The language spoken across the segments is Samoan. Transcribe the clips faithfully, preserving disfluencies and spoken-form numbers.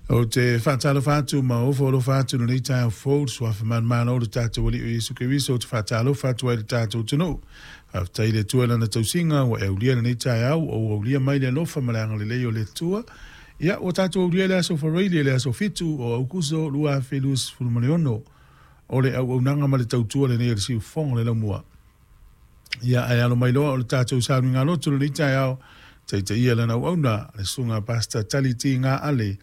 Ou te faatalofa atu ma ofo alofa atu lenei taeao fou i le suafa manumalo o le tatou Alii o Iesu Keriso. Ou te faatalofa atu ai i le tatou atunuu. Faafetai i le Atua i Lana tausiga ua e aulia lenei taeao, ua ou aulia mai le alofa ma le agalelei o le Atua. Ia, ua tatou aulia le aso Faraile, le aso fitu o Aukuso lua afe luasefulu ma le ono. O le auaunaga ma le tautua lenei a le siufofoga o le laumua. Ia, ae alo mai loa o le tatou sauniga lotu lenei taeao, taitaia lana auauna, le susuga Pastor Tali T. Ga Ale,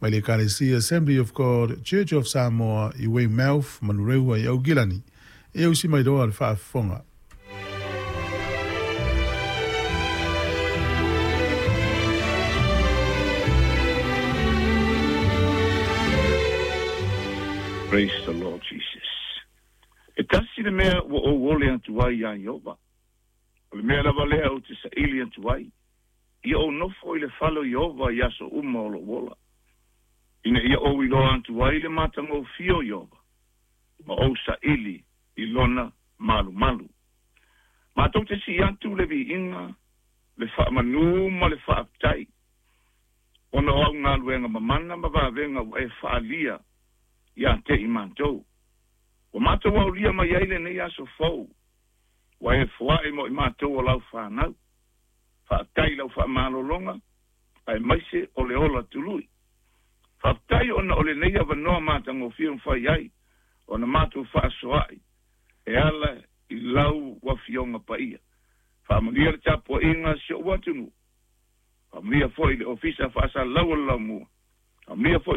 mai le Ekalesia Assembly of God Church of Samoa i Weymouth, Manurewa i Aukilani. E ausi mai loa le faafofoga. Praise the Lord Jesus. E tasi le mea ua ou ole atu ai iā Ieova, o le mea lava lea ou te saili atu ai, ia ou nofo i le fale o Ieova i aso uma o lou ola, ina ia ou iloa atu ai le matagofie o Ieova, ma ou saili i lona malumalu. Matou te sii atu le viiga, le faamanū ma le faafetai, ona o au galuega mamana ma vavega ua e faaalia ia te i matou. Ua matou aulia mai ai lenei aso fou, ua e foai mo i matou o lau fanau. Faafetai i lau faamalologa, aemaise o le ola tului. Faafetai ona o lenei avanoa matagofie e mafai ai ona matou faasoa'i e ala i lau Afioga Paia. Faamanuia le tapuaiga a si ou atunuu. Faamanuia foi i le Ofisa Faasalalau o le Laumua. Faamanuia foi